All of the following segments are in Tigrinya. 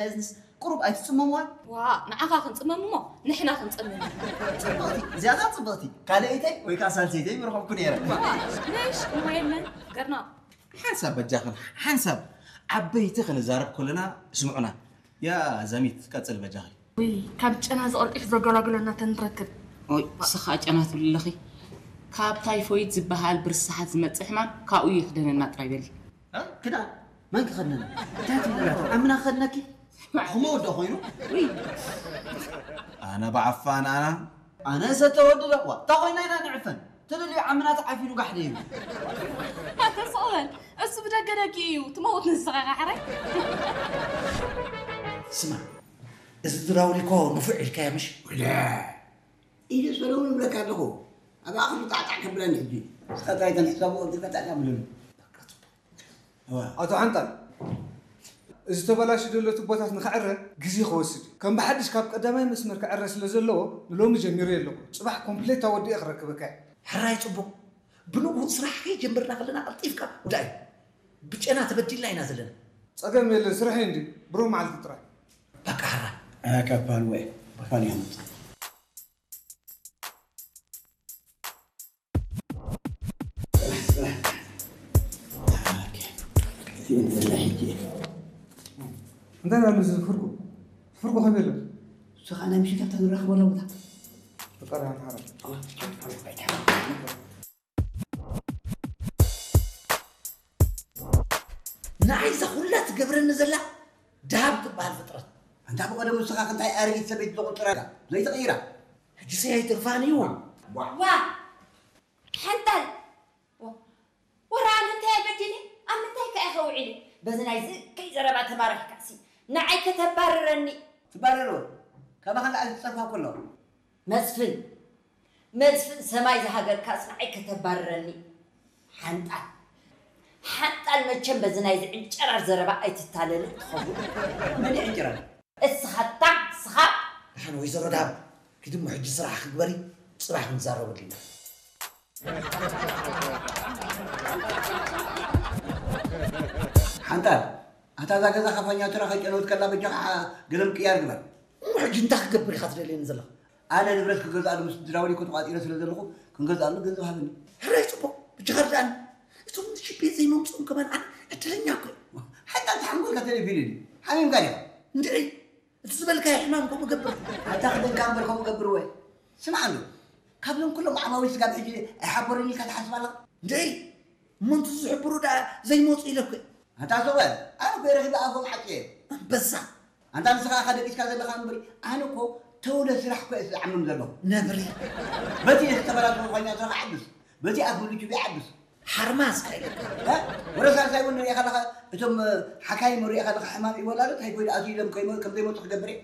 እዝንስ ቁሩብ ኣይትጽመምዋን? ዋ፣ ንዓኻ ክንጽመም እሞ ንሕና ክንጽመም ኢና። ጽብቕቲ፣ እዚኣ ኸኣ ጽብቕቲ። ካልኣይተይ ወይ ከኣ ሳልሰይተይ ምረኸብኩ ነይረ። ዋ፣ ነሽ እሞ የለን፣ ገርና። ሓንሳብ በጃኽን፣ ሓንሳብ ዓበይቲ ክንዛረብ ከለና ስምዑና። ያ ዛሚት፣ ቀጽል በጃኺ። ውይ፣ ካብ ጨና ዝቐልጢፍ ዘገላግለና ተንረክብ። ኦይ፣ ንስኻ ጨና ትብሊ ኣለኺ። ካብ ታይፎይድ ዝበሃል ብርስሓት ዝመጽእ ሕማም ካብኡ ይኽደነና ጥራይ በሊ። እ? ክዳን? መን ክኸድነና? እንታይ ትብሊ ኣለኺ? ኣምና ክኸድነኪ? ስማዕ። ኹሞ ወዶ ኮይኑ? ውይ። ኣነ ብዓፋን ኣና። ኣነ ሰተ ወዲ ደዋ። እታ ኮይና ኢና ንዕፈን። ትደልዩ ዓምና ተዓፊኑ ጋሕደ እዩ። ኣታ ስቕ በል። እሱ ብደገ ደጊ እዩ። ትመውት ንስኻ ኻሕራይ። ስማ፣ እዚ ድራውሊኮ ንፉዕ ኢልካዮ ምሽ? ወደ ኢደ ሰለሙን እብለካ ኣለኹ። ኣብ ኣኽሉ ጣዕጣዕ ከብለኒ ሕጂ። እስኻ ጥራይ ተን ሕሳቡ ወዲ ጣዕጣዕ ከብለኒ። እዋ። ኣቶ ሓንጣል፣ እዚ ተበላሹ ዘሎ ቱቦታት ንኽዕረ ግዜ ክወስድ እዩ። ከም ብሓድሽ ካብ ቀዳማይ መስመር ክዕረ ስለ ዘለዎ ንሎሚ ጀሚረ ኣለኹ። ጽባሕ ኮምፕሌት ኣወዲኤ ክረክበካ እየ። ሕራይ ጽቡቕ። ብንግሁ ስራሕ ከይጀመርና ከለና ቀልጢፍካ ውዳእ እዩ። ብጨና ተበዲልና ኢና ዘለና። ጸገም የለን፣ ስራሕ እዩ እንድዩ። ብሩህ መዓልቲ ጥራይ። በቃ ሕራይ። ኣያ ካብ ፓል ወይ፣ ፓል እዮም። እንታይ ኣሎ እዚ ፍርቁ? ፍርቁ ከመይ ኣሎ? ንስኻ ናይ ምሽት ኣብታ ንራኸበላ ቦታ። ፈጣሪ ኣምሓራ። ንዓይ እዛ ኩላ ትገብረኒ ዘላ ደሃብ ትበሃል ፍጥረት። ኣንታ ብቐደሙ ንስኻ ክንታይ ኣረጊት ሰበይቲ ዘቑጥረላ ዘይትቕይራ። ሕጂ ሰይ ኣይትርፋን እዩ። ዋ። ዋ! ሓንጣል! ዋ! ወራ ኣነ እንታይ በዲለ? ኣብ ምንታይ ከ ኢኸ ውዒለ? በዚ ናይ ዝእከይ ዘረባ ተባረኽካሲ። ንዓይ ከተባርረኒ። ትባረር ወይ? ካባኻ ንላዕሊ ዝጸርፋ እኮ ኣለዋ። መስፍን! መስፍን ሰማይ ዝሃገርካስ ንዓይ ከተባርረኒ? ሓንጣል! ሓንጣል መቸም በዚ ናይዚ ዕንጨራር ዘረባ ኣይትታለልን ትኸውን። መን እዩ ዕንጨራር? እስኻ እታ፣ እስኻ። ደሓን ወይዘሮ ዳብ፣ ኪዲ እሞ ሕጂ ስራሕኺ ግበሪ፣ ጽባሕ ክንዛረበሉ ኢና። ሓንጣል፣ ኣታ እዛ ገዛ ካፋኛቱራ ከይጨነውት ከላ በጃኻ ገለ ምቅያር ግበር። እሞ ሕጂ እንታይ ክገብር ኢኻ ትደልየኒ ዘለኻ? ኣነ ንብረት ክገዝኣሉ ምስ ድራውሊኮ ተቋጺረ ስለ ዘለኹ ክንገዝኣሉ ገንዘብ ሃበኒ። ሕራይ ጽቡቕ፣ በጃኻ ርድኣኒ። እቶም ንሽቤት ዘይመምጽኦም ከማን ኣነ ዕድለኛ እኮ እየ። ሓንጣል ተሓንጎልካ ተለፊሉ ድዩ? ሓሚምካ ዲኻ? እንድዒ፣ እቲ ዝበልካዮ ሕማም ከምኡ ገብር። ኣታ ክደንካ እምበር ከምኡ ገብር ወይ? ስማዕ ኣሎ፣ ካብዞም ኩሎም ዓማዊል ስጋብ ሕጂ ኣይሓበሩን ኢልካ ትሓስብ ኣለኻ? እንድዒ፣ እሞ እንቱ ዝሕብሩ ደኣ ዘይመጹ ኢለ እኮ እየ። ኣታ ሰብኣይ፣ ኣነ እኮ ረኺበ ኣፎም ዓጽየ። ኣንበሳ። ኣንታ ንስኻ ኢኻ ደቂስካ ዘለኻ እምበሪ፣ ኣነ እኮ ተውለ ስራሕ እኮ እየ ዝዓምም ዘለኹ። ነብሪ። በቲ ዝተበላሸወ ኳኛ ስራሕ ዓብስ፣ በቲ ኣፍ ምልቹ ዘይዓብስ። ሓርማዝ ከይልካ። እ? ወረ ሳልሳይ እውን ንሪኤ ከለኻ፣ እቶም፣ እ፣ ሓካይም ንሪኤ ከለኻ ሕማም ይወላዶ ታይፎይድ ኣትዩ ኢሎም ከይመ-፣ ከም ዘይመጹ ክገብር እየ።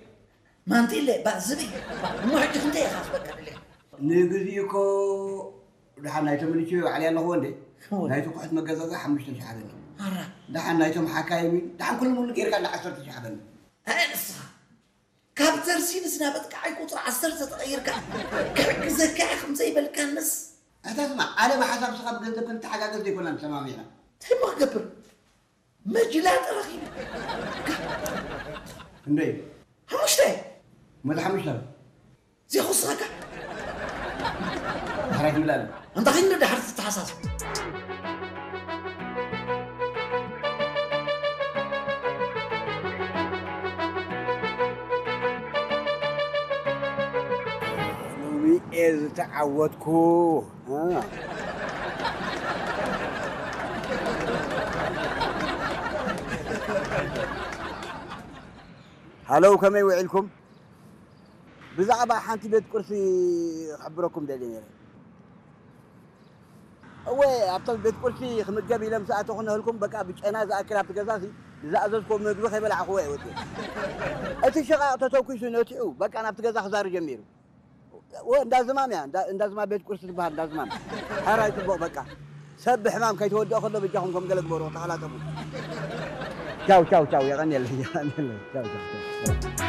ማንቲለ፣ ባእ ዝብኢ። እሞ ሕጂ ክንደይ ኢኻ ክበካ ደሊኻ? ንግዚኡ እኮ ደሓን ናይቶም ምልቹ ባዕለይ ኣለኹዎ እንዴ? እወ። ናይቲ ኩሕት መገዛዛ ሓሙሽተ ሺሕ ሃበኒ። ኣራ። ደሓን ናይቶም ሓካይም፣ ደሓን ኩሉ ሙሉ ጌርካ እንዳ ዓሰርተ ሺሕ ሃበኒ። ኣይ ንስኻ። ካብ ተርሲንስ ናብ ኣጥቃዓይ ቁጽሪ ዓሰርተ ተቐይርካ ክሕግዘካ እየ ከም ዘይበልካንስ። ኣታ ስማዕ፣ ኣነ ብሓሳብ ስኻ ብገንዘብ ክንተሓጋገዝ ዘይኮና ተሰማሚዕና። እንታይ እሞ ክገብር? መጅላ ተረኺቡ። ክንደይ? ሓሙሽተ። መቶ ሓሙሽተ። ዘይኹስኸካ። ዳሕራይ ትብል ኣለ። ኣንታ ኸይኑ ዳሕር ትተሓሳሰብ። ሎሚ እየ ዝተዓወትኩ። እ። ሃለው፣ ከመይ ውዒልኩም? ብዛዕባ ሓንቲ ቤት ቁርሲ ክሕብረኩም ደልየ ነይረ። እወ፣ ኣብቶም ቤት ቁርሲ ክምገብ ኢለ ምስ ኣተኹ ነህልኩም፣ በቃ ብጨና ዝኣክል ኣብቲ ገዛሲ ዝኣዘዝኩዎ ምግቢ ከይበላዕኹዎ እየ ወፂአ። እቲ ሽቓቕ ተተኲሱ ነቲዑ፣ በቃ ናብቲ ገዛ ክዛሪ ጀሚሩ። እወ፣ እንዳ ዝማም እያ፣ እንዳ፣ እንዳ ዝማም ቤት ቁርሲ ትበሃል፣ እንዳ ዝማም። ሕራይ ጽቡቕ፣ በቃ። ሰብ ብሕማም ከይተወድኦ ከሎ በጃኹም ከም ገለ ግበሩ፣ ተኸላጠፉ። ቻው፣ ቻው፣ ቻው፣ የቐንየለይ፣ የቐንየለይ። ቻው፣ ቻው፣ ቻው።